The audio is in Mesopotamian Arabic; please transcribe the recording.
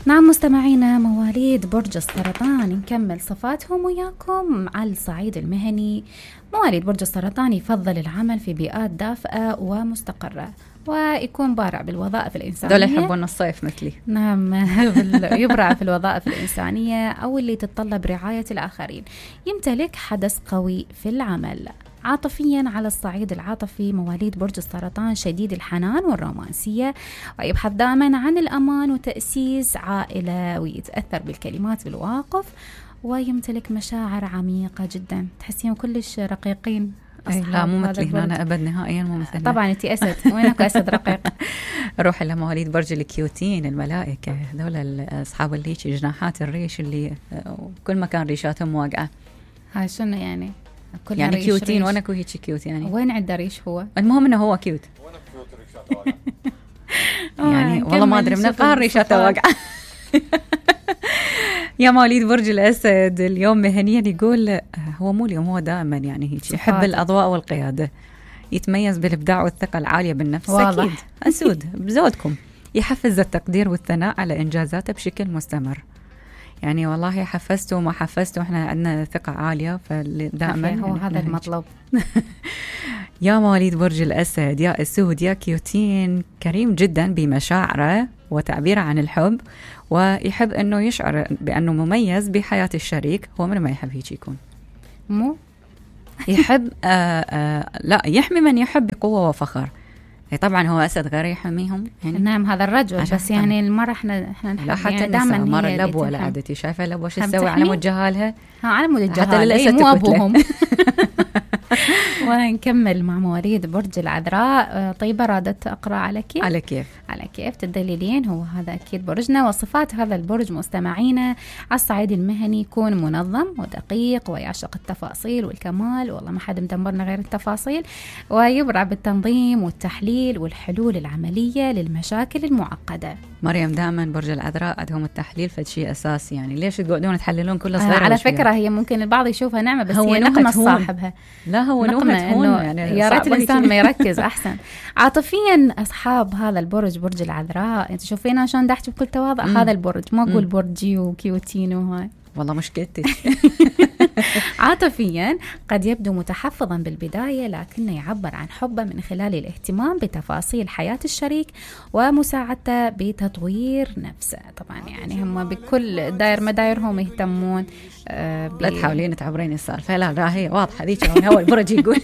نعم مستمعينا مواليد برج السرطان، نكمل صفاتهم وياكم على الصعيد المهني. مواليد برج السرطان يفضل العمل في بيئات دافئة ومستقرة، ويكون بارع بالوظائف الإنسانية. دول يحبون الصيف مثلي. نعم يبرع في الوظائف الإنسانية أو اللي تتطلب رعاية الآخرين. يمتلك حدث قوي في العمل. عاطفيا، على الصعيد العاطفي مواليد برج السرطان شديد الحنان والرومانسية، ويبحث دائما عن الأمان وتأسيس عائلة، ويتأثر بالكلمات بالواقف، ويمتلك مشاعر عميقة جدا. تحسين كلش رقيقين. لا مو مثلي، أنا أبد نهائيا مو مثلي. طبعا أنت أسد، وينك أسد رقيق. روح إلى مواليد برج الكيوتين، الملائكة هذول أصحاب الليش جناحات الريش اللي كل مكان ريشاتهم واقعة. هاي شنو يعني؟ يعني كيوتين وانا هيك كيوت يعني. وين عنده ريش هو؟ المهم انه هو كيوت. وانا كيوت ريشاته واقعة. يعني والله ما ادري من القهر ريشاته واقعة. يا مواليد برج الاسد، اليوم مهنيا يقول هو مو اليوم، هو دائما يعني هيك يحب الاضواء والقيادة، يتميز بالابداع والثقة العالية بالنفس. اكيد اسود بزودكم، يحفز التقدير والثناء على انجازاته بشكل مستمر. يعني والله حفزته وما حفزته احنا عندنا ثقة عالية، فدائما هو هذا المطلوب. يا مواليد برج الأسد، يا أسود، يا كيوتين، كريم جدا بمشاعره وتعبيره عن الحب، ويحب أنه يشعر بأنه مميز بحياة الشريك. هو من ما يحب هيك يكون؟ مو يحب لا، يحمي من يحب بقوة وفخر. طبعا هو أسد غير يحميهم يعني. نعم هذا الرجل، بس يعني المرة احنا نحب لا، حتى يعني دائما مرة الأبوة لا عادتي شايفة الأبوة شو تسوي على مود جهالها. على مود الجهال، مو أبوهم. ونكمل مع مواليد برج العذراء. طيبة، رادت أقرأ على كيف؟ على كيف تدللين. هو هذا أكيد برجنا. وصفات هذا البرج مستمعينا على الصعيد المهني يكون منظم ودقيق، ويعشق التفاصيل والكمال، والله ما حد مدمرنا غير التفاصيل، ويبرع بالتنظيم والتحليل والحلول العملية للمشاكل المعقدة. مريم دائما برج العذراء عندهم التحليل فشيء أساسي، يعني ليش تقعدون تحللون كل صغيرة؟ على فكرة هي ممكن البعض يشوفها نعمة، بس هي نقمة صاحبها. لا هو نقمة يعني يا ريت الإنسان ما يركز أحسن. عاطفيا أصحاب هذا البرج، برج العذراء، أنت شوفينا عشان دحتي بكل تواضع. هذا البرج ما أقول برجي وكيوتين وهاي، والله مشكلتك. عاطفيا قد يبدو متحفظا بالبداية، لكنه يعبر عن حبه من خلال الاهتمام بتفاصيل حياة الشريك ومساعدته بتطوير نفسه. طبعا يعني هم بكل داير مدايرهم يهتمون. لا تحاولين تعبرين السالفة. لا هي واضحة ذيك هو البرج يقول.